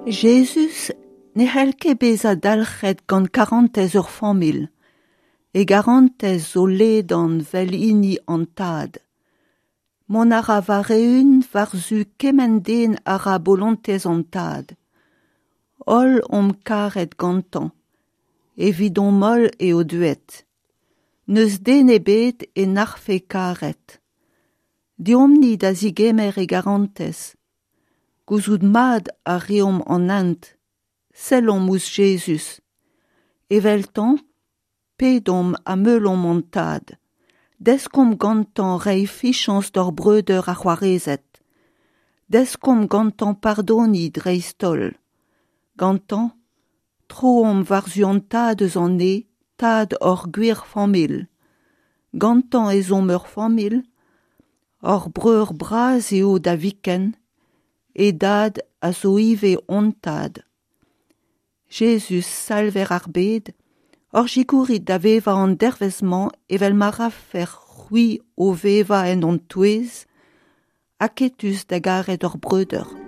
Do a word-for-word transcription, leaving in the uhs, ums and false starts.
Jezuz ne c'hell ket bezañ dalc'het gant karantez ur familh. E garantez zo ledan 'vel hini an tad. Mont a ra war-eeun war-zu kement den a ra bolontez an tad. Holl omp karet gantañ. Evidomp-holl eo deuet. N'eus den ebet e nac'hfe karet. Deomp-ni da zegemer e garantez. Gouzout mat a reomp an hent. Sellomp ouzh Jezuz. Eveltañ, pedomp ha meulomp an Tad. Deskomp gantañ reiñ fiziañs d'hor breudeur ha c'hoarezed. Deskomp gantañ pardoniñ dreist-holl. Gantañ, troomp war-zu an Tad eus an Neñv, Tad hor gwir familh. Gantañ ez omp ur familh, hor breur bras eo da viken, e dad a zo ivez hon tad. Jezuz, salver ar bed, hor sikourit da vevañ an dervezh-mañ evel ma rafec'h c'hwi o vevañ en hon touez, aketus da garet hor breudeur.